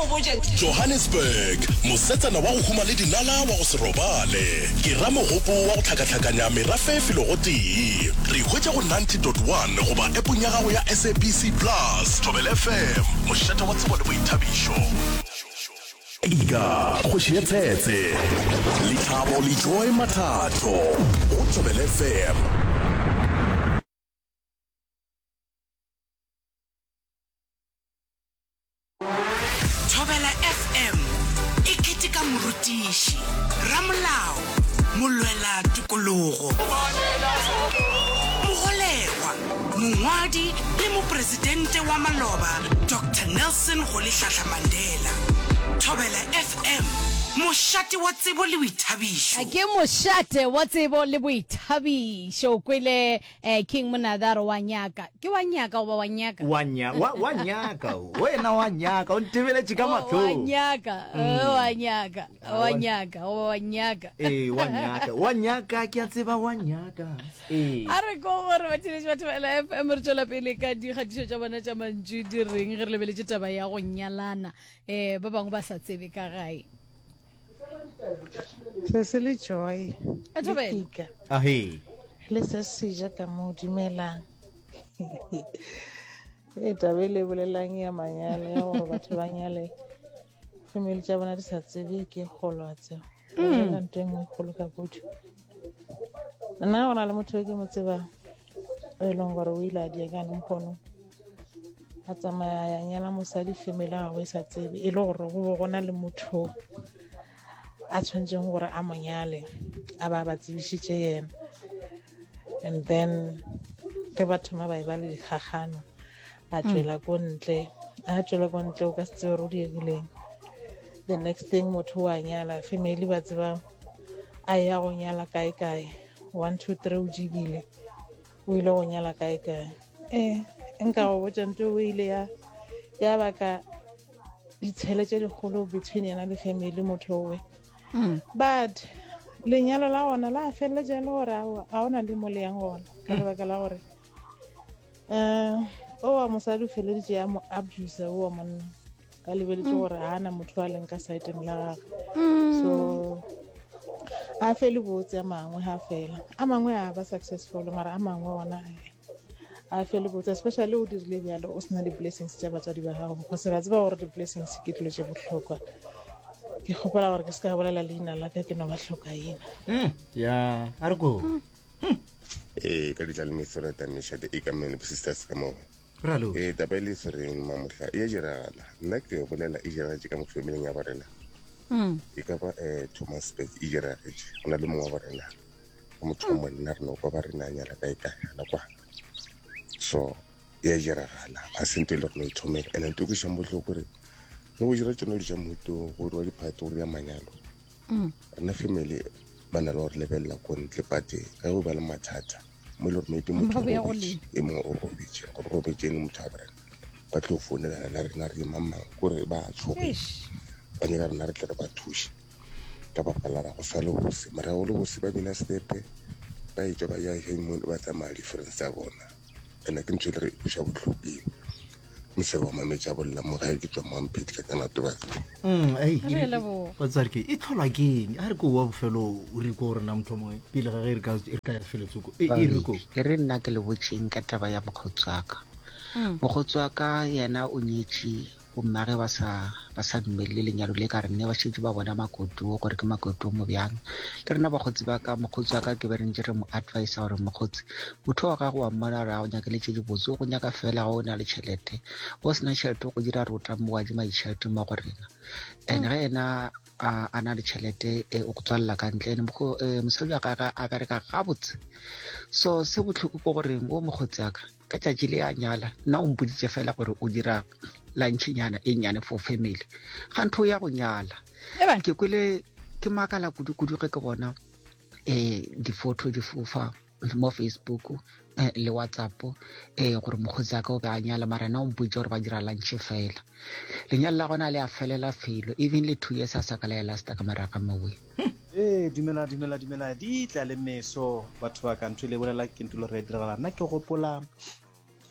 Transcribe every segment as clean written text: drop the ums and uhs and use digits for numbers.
mo botše. Johannesburg, Mosetsana wa go huma le dinala wa go se robale. Ke ramogopo wa go hlakahlakanya merafe felo gotee. Re hwetša go 90.1 goba appong ya gago ya SABC Plus. Thobela FM, mošate wa tsebo le boithabišo. Ika, kgoši ya tshetse. Lethabo le Joy Mathatho go Thobela FM. Thobela FM e keteka morutiši, ramolao, molwela tokologo, mogolegwa, mongwadi le mopresidente wa maloba Doctor Nelson Rolihlahla Mandela. Thobela FM, mošate wa tsebo le boithabišo. Ke mošate wa tsebo le boithabišo. O kwele Eh, King Monadaro wa nyaka. Ke wa nyaka goba wa nyaka? Wa nya, wa, wa nyaka. Wena wa nyaka, o ntebeletše ka Oh, wa mahlong. nyaka, oh, wa nyaka, Ah, wa wa- nyaka, goba wa nyaka. Ee, wa nyaka. Wa nyaka, ke a tseba wa nyaka. Ee. A re ko gore batheeletši ba Thobela FM re tšwela pele ka dikgatišo tša bona tša mantšu di reng ge re lebeletše taba ya go nyalana um ba bangwe ba sa tsebe ka gae. Sesi le Joy A le Thobela. Tika Ahe. le se seja ka mo dumelang. E taba e le bolelang ya manyalo ya gore batho ba nyale family tša bona di sa tsebe ke kgolo wa tseba. O bolela ntho e nngwe e kgolo ka kudu. Nna go na le motho e ke mo tsebang o e leng gore o ile a diekane mokgono a tsamaya ya nyala mosadi family ya gagwe e sa tsebe e le gore go be go na le motho a tshwanetseng gore a mo nyale a ba ba tsebišitše yena and then ge ba thoma ba e ba le dikgagano a tšwela ko ntle a tšwela ko ntle o ka se tsebe gore o diegileng the next thing motho wa nyala family ba tseba a ya go nyala kae kae 1 2 3 o jibile o ile go nyala kae kae ee nka go botša nto o ile ya ya baka ditshele tše dikgolo between yena le family motho owe mm. but lenyalo la gona la feleletša e le gore ga ona le mo le yang gona ka mm. lebaka la gore um o wa mosadi o feleditše ya mo abuse o wa monna ka lebeletše mm. gore ga na motho a leng ka saeteng la gage mm. so a fele botse a mangwe ga fela a mangwe a ba successful mara a mangwe ona a fele botse especially o dirile bjalo o sena di-blessings tša batswadi ba gago because ra tseba gore di-blessings ke dilo tše bohlokwa ke kgopela gore ke se ka bolela leina la ka ke no ba hlokaina mm, ya a re ko ee ka ditla le mesoreta mešate e ka mene sisters ka moo Ralo. Ee, taba e le swereng mamohla e a diragala. Nna ke yo bolela e diragetše ka mo familing ya borena. Mm. E ka ba um Thomasburg e diragetše. Go na le mongwe wa borena wa motho wa monna re no kwa ba rena a nyala kae kae gana kwa. So e a diragala ga se ntho e le gore no ithomela. And ntho e kwešang bohloko gore ge go dira tsone dilo tša mohuto go diriwa diphato go dira manyalo. Mm. Rena family ba na le gore lebelela ko ntle but ge go ba le mathata mo e le gore maybe motho Ba boya go robetše lena. e mongwe o robetše gore robetše e le motho wa borena ba tlo founelana le rena re mang mang kore ba tshoge Eish. ba nyaka rena re tle re ba thuše ka baka la go sa le bose mara go le bose ba bina stepe ba etšwa ba ya honeymoon ba tsamaya di-friends tsa bona ene ke ntho e le re kweša bohloko eo mosebe wa mametša bolla mo gae ke tswa moampedi ka tsena tobatse Mm, ei, Re e- leboga. batswadi ke e tlholwa ke eng a re ko wa bofelo o re ko rena motho mongwe pele ga ge re ka re ka ya feletsoko e e re ko e re nna ke le botšeng ka taba ya mokgotsi wa ka Mm. mokgotsi wa ka yena o nyetše bommage ba sa ba sa dumelele lenyalo le ka re nne ba šetše ba bona makoto gore ke makoto mo bjang le rena bakgotsi ba ka mokgotsi wa ka ke be re ntše re mo advisa gore mokgotsi motho wa gago wa mmona gore a go nyakele tše dibotse o go nyaka fela ga o na le tšhelete o sena tšhelete go dira rota mo adima ditšhelete mo go rena and ge yena a na le tšhelete e o go tswalela ka ntle and eh, mosadi wa gage a bereka gabotse so se bohloko ko gore o mokgotsi aka ka tšatši le a nyala nna o mpoditše fela gore o dira lunchnyana e nnyane for family ga ntho ya go nyala ke kwele ke makala kudu-kudu ge ke bona um di-photo di fofa mo facebook eh, le whatsapp eh gore mokgotsi ka o be a nyala mara na o mpotse gore ba dira lunch fela lenyalo la gona le a felela felo even le two years a sa ka la ya lasta ka moraga mowe Ee, dumela dumela dumela di tla le meso batho ba ka ntho e le bolela ke ntho le re diragala nna ke gopola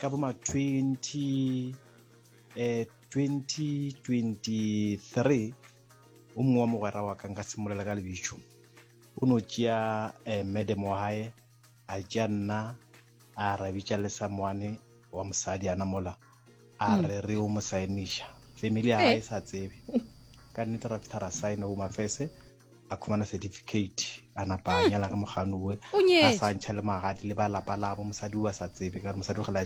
ka bo ma 20 eh 2023 o mongwe wa mogwera wa ka nka simolola ka lebitšo o no tšea eh, madam wa gae a tšea nna a ra bitša le someone wa mosadi ana mola a mm. re re o mo saeniša family ya gae e sa tsebe ka nnete ra fitlha ra saena o mafese a khumana certificate a napa a mm. nyala ka mogano oe a sa ntšha le magadi le ba lapa labo mosadi o a sa tsebe ka re mosadi o gela a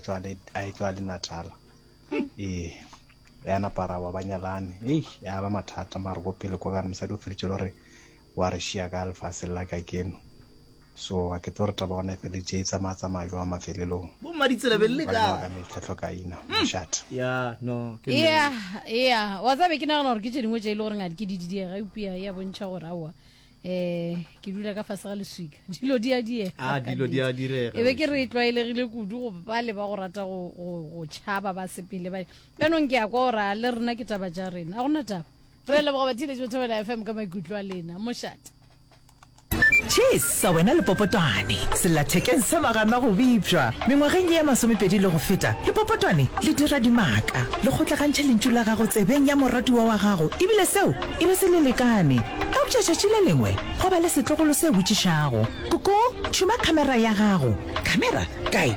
e tswa le natala mm. ee ya napa ra ba ba nyalane ei ya ba mathata mare ko pele kwa ka re mosadi o feletše le gore wa re šia ka lefaseng la ka keno So a ke tlo re taba gona e feletše e tsamaya tsamaya jwang mafelelong. Bo mmaditsela be le Ba kae? ka mehla hlokaina mošate. Ya no ke Ea, nnete. ea, wa tseba be ke nagana gore ke tše dingwe tše e le gore ngadi ke di diega, eupša e a bontšha gore aowa, um ke dula ka fase ga leswika. Dilo di a diega Ah, ka dilo di nnete. a direga E be ke re wešo. e tlwaelegile kudu go bale ba go rata go, go, go tšhaba ba sepele ba. Bjanong ke a kwa gore a le rena ke taba tša rena. A gona taba. Re a leboga batheeletši ba Thobela FM ka maikutlo a lena. Mošate. Chesa wena lepopotwane, sellathekeng sa magana go bipša. Mengwageng ye ya masomepedi le go feta, lepopotwane le dira dimaka, le kgotlagantšha lentšu la gago tsebeng ya moratiwa wa gago ebile seo e be se le lekane. Eupša tšatši le lengwe gwa ba le setlogolo se botšišago, Koko, tšhuma khamera ya gago. Khamera? Kae?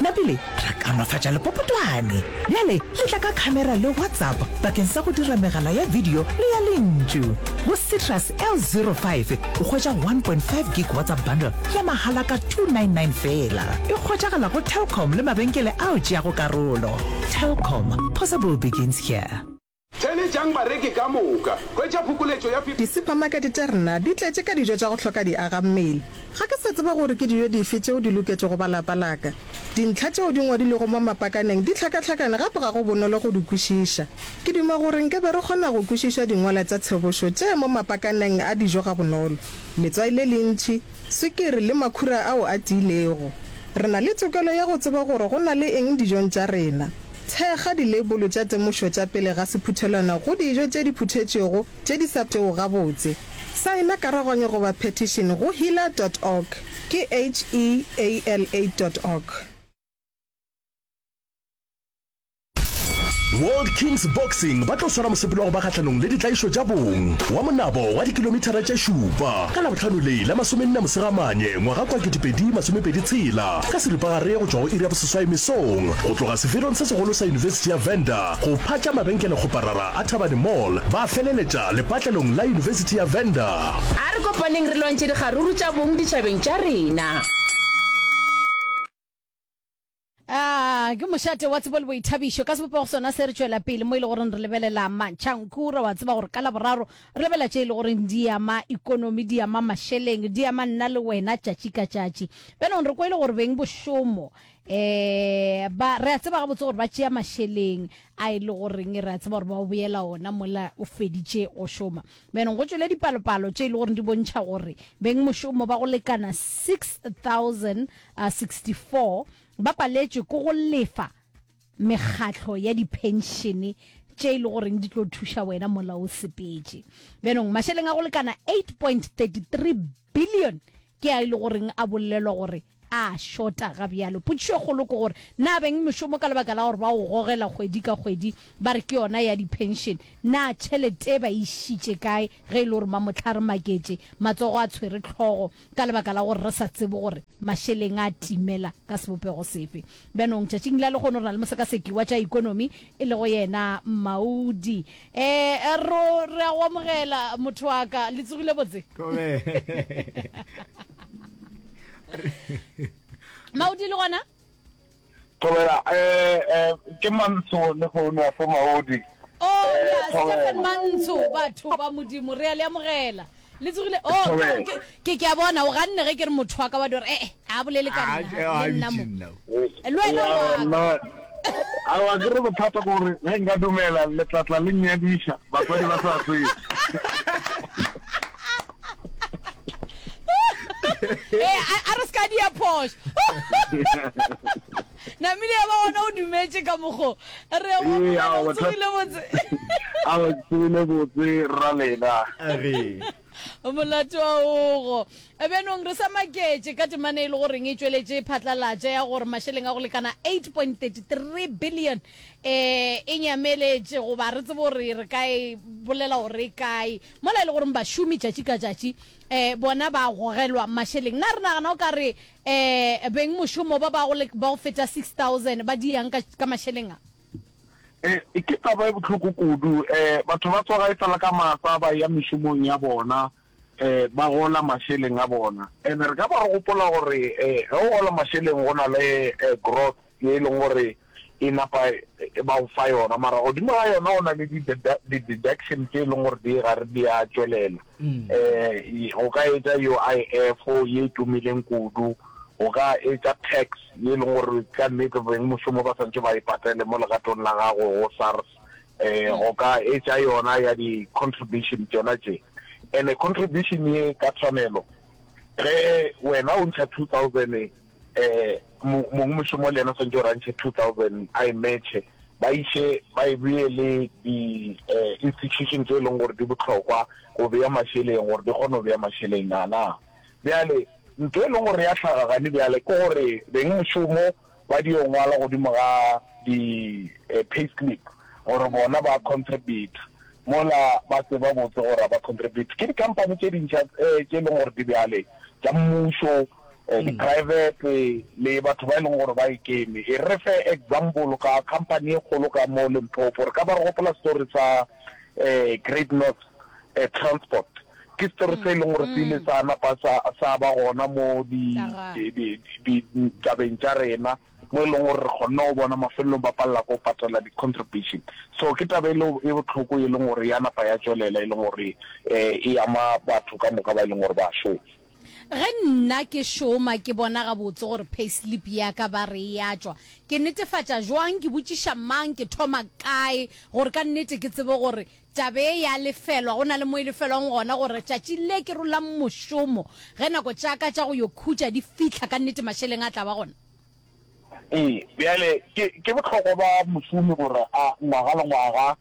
Napile ra kaonafatša lepopotwane. Bjale le tla ka khamera le WhatsApp bakeng sa go dira megala ya video le ya lentšu. Go Citrus L05 o hwetša 1.5 gig WhatsApp bundle ya mahala ka 299 feela. E hwetšagala go Telkom le mabenkele ao tšeago karolo. Telkom, possible begins here. Theeletšang bareki ka moka. Hwetša phokoletšo ya. Disuphamakete tša rena di tletše ka dijo tša go hloka diagammele. Ga ke sa tseba gore ke dijo dife tšeo di loketšego ba lapa la ka. Dintlha tšeo di ngwadilwego mo mapakaneng di hlakahlakane gape ga go bonolo go di kwešiša. Ke duma gore nke be re kgona go kwešiša dingwalwa tša tshebošo tše mo mapakaneng a dijo gabonolo. Letswai le lentši, swikiri le makhura ao a tiilego. Re na le tokelo ya go tseba gore go na le eng dijong tša rena. Thekga dileibolo tša temošo tša pele ga sephuthelwana go dijo tše di phuthetšwego tše di sa pšego gabotse. Saena karaganyo goba petition go heala dot org, ke H-E-A-L-A dot org. World Kings Boxing ba tlo swara mosepelo wa go ba kgahlanong le ditlaišo tša bong wa monabo wa dikilomithara tše šupa ka Labohlano le la masomenne Mosegamanye ngwaga kwa 2026 ka seripagare go tšwa go iri ya boseswai mesong go tloga seferong se segolo sa Yunibesithi ya Venda go phatša mabenkelekgoparara a Thabane Mall ba feleletša lepatlelong la Yunibesithi ya Venda. A re kopaneng re lwantšhe dikgaruru tša bong ditšhabeng tša rena. A ke mošate wa tsebo le boithabišo. Ka sebopego sona se re tšwela pele mo e le goreng re lebelela mantšhankura. Wa tseba gore ka Laboraro re lebelela tše e le goreng di ama ikonomi, di ama mašeleng, di ama nna le wena tšatši ka tšatši. Bjanong re kwele gore beng bošomo um ba re a tseba gabotse gore ba tšea mašeleng a e le goreng re a tseba gore ba o boela ona mola o feditše go šoma. Bjanong go tšwele dipalopalo tše e le goreng di bontšha gore beng mošomo ba go lekana 6064 ba paletšwe ke go lefa mekgatlo ya diphenšene tše e le goreng di tlo thuša wena mola o sepetše. Bjanong mašeleng a go lekana 8.33 billion ke a e le goreng a bolelwa gore a šota ga bjalo. Potšišo e kgolo ke gore na beng mešomo ka lebaka la gore ba o gogela kgwedi ka kgwedi ba re ke yona ya diphenšene, na tšhelete ba e išitše kae ge e le gore mamohla re maketše matsogo a tshwere hlogo ka lebaka la gore re sa tsebe gore mašeleng a timela ka sebopego sefe. Bjanong tšatšing la lehono re na le mosekaseki wa tša ikonomi e lego yena Maudi. E, ro, re a go amogela motho wa ka. Le tsogile botse? Maudi le gona? Thobela, eh, eh, ke Mantsho le founu ya se Maudi. Oh, Eh, ya, Thobela. Stephen Mantsho, batho ba Modimo, re a le amogela. Le tsogile, oh, Thobela. ke, ke, ke a bona, o ganne ge ke re motho wa ka wa di gore, eh, eh, a bolele ka Ah, nna, ah, le nna mo. nna. Le wena Ya, wa ka. nna, aowa, ke re bothata ke gore ge nka dumela le tla tla le nnyadiša batswadi ba sa tsebe. Ee, a, a re se ka dia phošo. Namile ya ba gona o dumetše ka mokgo. Re a go Ee, amogela, aowa, o bothata- tsogile botse. Aowa, ke tsogile botse, rra lena. A re. Molato wa ogo. Bjanong re sa maketše ka temana e le goreng e tšweletše phatlalatša ya gore mašeleng a go lekana 8.33 billion eh e nyameletše goba re tsebe gore re ka e bolela gore e kae mola e le goreng bašomi tšatši ka tšatši eh bona ba gogelwa mašeleng. Na re nagana o ka re eh beng mošomo ba ba go feta 6000 ba diang ka ka mašeleng a? E, ke taba e bohloko kudu. E, batho ba tsoga e sa le ka masa ba eya mešomong ya bona, e, ba gola mašeleng a bona. And re ka ba re gopola gore e, ge o gola mašeleng go na le e, growth ye e leng gore e napa e ba go fa yona, mara godimo ga yona go na le di-deduction tše e leng gore di gare di a tšwelela. E, go ka etša UIF ye e tumileng kudu, go ka etša tax ye e leng gore ka nnete bengmošomo ba swanetše ba e patele mo legatong la gago go SARS, um go ka etša yona ya di-contribution tšona tše. And-e contribution ye ka tshwanelo ge wena o ntšha 2000 um mongmošomo le yena o swanetše gore a ntšhe 2000 a e matche, ba iše ba e bee le di-institution tše e leng gore di bohlokwa go bea mašeleng gore di kgone go bea mašeleng a na. Bjale Ntho e leng gore ya hlaga gane bjale ke gore bengmošomo ba dio ngwala godimo ga di pay slip gore bona ba contribute mola ba tseba botse gore ga ba contribute. Ke di-company tše dintšha tše e leng gore di bjale tša mmušo, di-private le batho ba e leng gore ba ikeme. E re fe example ka company e kgolo ka mo Limpopo, re ka ba re gopola story sa Great North Transport. Ke story se e leng gore se ile sa napa sa, sa ba gona mo di, di, di, di, ditabeng tša rena, mo e leng gore re kgonne go bona mafelelong ba palela ke go patela di-contribution. So ke taba e le e bohloko e leng gore ya napa ya tšwelela, e leng gore e ama batho ka moka ba e leng gore ba šoma. Ge nna ke šoma ke bona gabotse gore payslip ya ka ba re e a tšwa, ke netefatša jwang, ke botšiša mang, ke thoma kae gore ka nnete ke tsebe gore Taba e ya lefelwa, go na le mo e lefelwang gona gore tšatši le ke rolang mošomo, ge nako tša ka tša go yo khutša di fihla, ka nnete mašeleng a tla ba gona. Ee, bjale ke, ke bohlokwa ba mošomi gore a, ngwaga le ngwaga,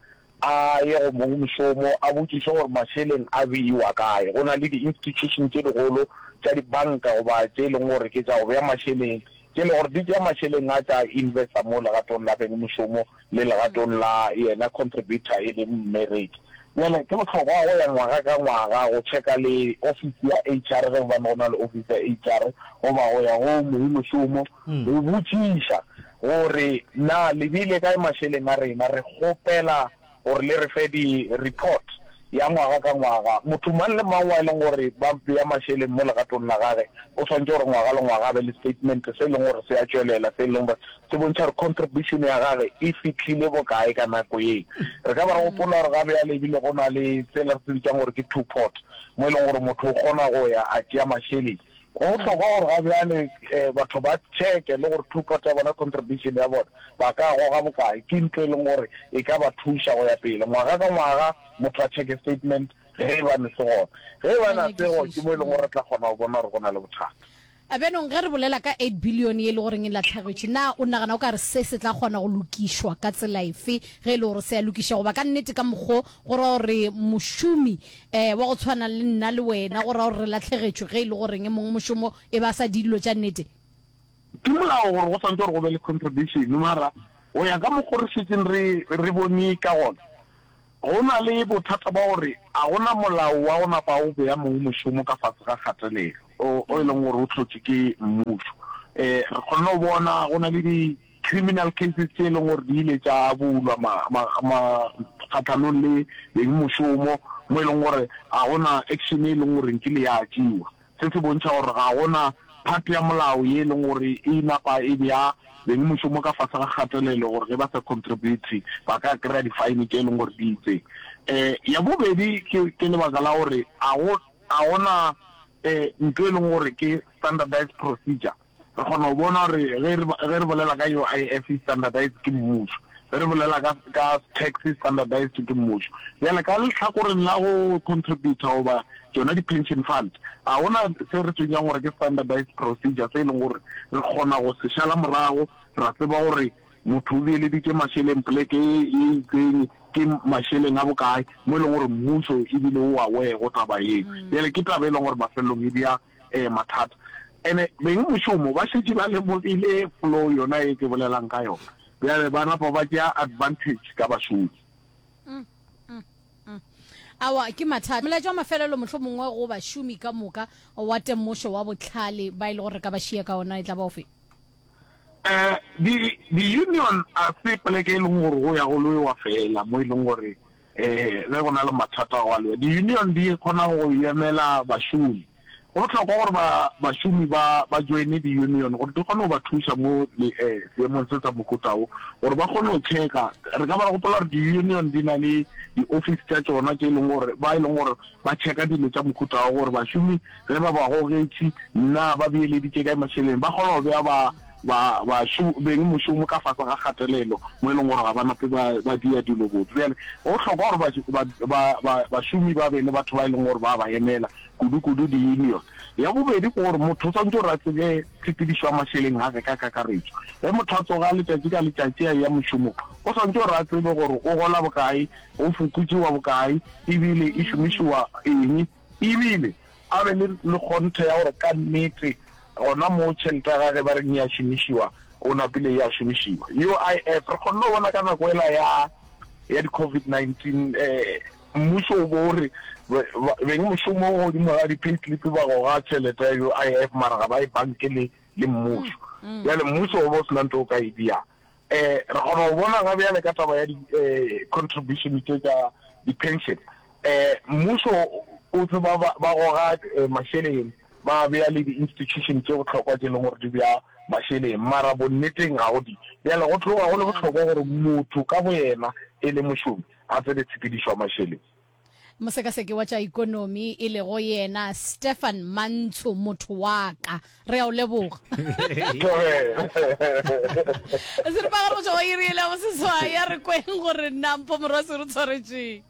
a ye go mongmošomo, a botšiše gore mašeleng a beiwa kae. Go na le di-institution tše dikgolo tša dibanka goba tše e leng gore ke tša go bea mašeleng, tše e leng gore di tšea mašeleng a tša investa mo legatong la bengmošomo le legatong la yena contributor e leng mmereki. Bjale ke bohlokwa go ya ngwaga ka ngwaga go checka le ofisi ya HR ge gobane go na le ofisi ya HR goba go ya go mongmošomo go botšiša gore na le beile kae mašeleng a rena, re kgopela gore le re fe di report ya ngwaga ka ngwaga. Motho mang le mang wa e leng gore ba bea mašeleng mo legatong la gage o swanetše gore ngwaga le ngwaga a be le statement se e leng gore se a tšwelela se e leng gore se bontšha gore contribution ya gage e fihlile bokae ka nako ye. Re ka ba re gopola gore ga bjale ebile go na le sela re se bitsang gore ke two pot mo e leng gore motho o kgona go ya a tšea mašeleng Go bohlokwa gore ga bjale batho ba checke le gore two pot ya bona, contribution ya bona, ba ka goga bokae. Ke ntho e leng gore e ka ba thuša go ya pele. Ngwaga ka ngwaga motho a checke statement ge e ba ne se gona. Ge e ba ne se go, ke mo e leng gore re tla kgona go bona gore go na le bothata. Bjanong ge re bolela ka eight billion ye e le goreng e lahlegetše, na o nagana o ka re se se tla kgona go lokišwa ka tsela efe ge e le gore se a lokiša? Goba ka nnete ka mokgo go ra gore mošomi Eh, wa go tshwana le nna le wena, go ra gore re lahlegetšwe ge e le goreng mongmošomo e ba sa di dilo tša nnete. Ke molao gore go swanetše gore go be le contribution, mara go ya ka mokgo re šetšeng re re bone ka gona, go na le bothata ba gore a go na molao wa go napa o bea mongmošomo ka fase ga kgatelelo o e leng gore o hlotšwe ke mmušo. Eh, re kgonne go bona go na le di criminal cases tše e leng gore di ile tša bulwa ma, ma, ma kgahlanong le bengmošomo mo e leng gore ga go na action e leng gore nkile ya tšewa. Se se bontšha gore ga go na part ya molao ye e leng gore e napa e bea bengmošomo ka fase ga kgatelelo gore ge ba sa contribute ba ka kry-a di-fine tše e leng gore di itseng. Um ya bobedi ke, ke lebaka la gore ga go, ga go na um ntho e leng gore ke standardized procedure. Re kgona go bona gore ge re, ge re bolela ka UIF e standardized ke mmušo, ge re bolela ka, ka tax e standardized ke mmušo. Bjale ka lehlakoreng la go contributor goba tšona di-pension fund, ga go na se re se bitšang gore ke standardized procedure se e leng gore re kgona go se šala morago ra tseba gore. motho o beeleditše mašeleng poleke ye e itseng ke mašeleng a bokae, mo e leng gore mmušo ebile o aware go taba yeo. Bjale ke taba e leng gore mafelelong e bea um mathata. And-e beng mošomo ba šetše ba lemogile flow yona ye ke bolelang ka yona, bjale ba napa ba tšea advantage ka bašomi. Aowa, ke mathata. Molaetša wa mafelelo mohlomongwe go bašomi ka moka wa temošo wa bohlale ba e le gore re ka ba šia ka ona e tla ba ofe? Um di di-union a se poleke e leng gore go ya go lwewa fela mo e leng gore um ge go na le mathata go a lwewa. Di-union di kgona go emela bašomi. Go bohlokwa gore ba bašomi ba ba joine di-union gore di kgone go ba thuša mo le um seemong se sa mohuta wo gore ba kgone go checka. Re ka ba ra gopola gore di-union di na le di-office tša tšona tše e leng gore ba e leng gore ba checka dilo tša mohuta wa gore bašomi ge ba ba gogetše na ba beeleditše kae mašeleng, ba kgona go bea ba, ba, bašu, beng mošomo ka fase ga kgatelelo mo e leng gore ga ba nape ba, ba dia dilo botse. Bjale go bohlokwa gore ba, ba, ba, ba, bašomi ba be le batho ba e leng gore ba ba emela, kudu-kudu di-union. Ya bobedi ke gore motho o swanetše gore a tsebe tshepedišo ya mašeleng a ge ka kakaretšo. Ge motho a tsoga letšatši ka letšatši a eya mošomong, o swanetše gore a tsebe gore o gola bokae, go fokotšiwa bokae, ebile e šomišiwa eng, ebile a be le le kgonthe ya gore ka nnete gona moo tšhelete ya gage ba reng e a šomišiwa, o napile e a šomišiwa. UIF, re kgonne go bona ka nako ela ya ya di-COVID-19 mmušo o bo o re beng mošomo godimo ga di-payslip ba goga tšhelete ya UIF mara ga ba e banke le le mmušo. Bjale mmušo o bo o sena ntho o ka e diang. Re kgona go bona ga bjale ka taba ya di-contribution tše tša di-pension, mmušo o tseba ba goga mašeleng, ba bea le di-institution tše bohlokwa tše e leng gore di bea mašeleng, mara bonneteng ga go di. Bjale go tloga go le bohlokwa gore motho ka boyena e le mošomi a tsebe tshepedišo ya mašeleng. Mosekaseki wa tša ikonomi e lego yena Stefan Mantsho, motho wa ka. Re a o leboga. Seripagare go tšwa go iri ele ya boseswai, a re kweng gore na Mpho Morwasi o re tshwaretšeng.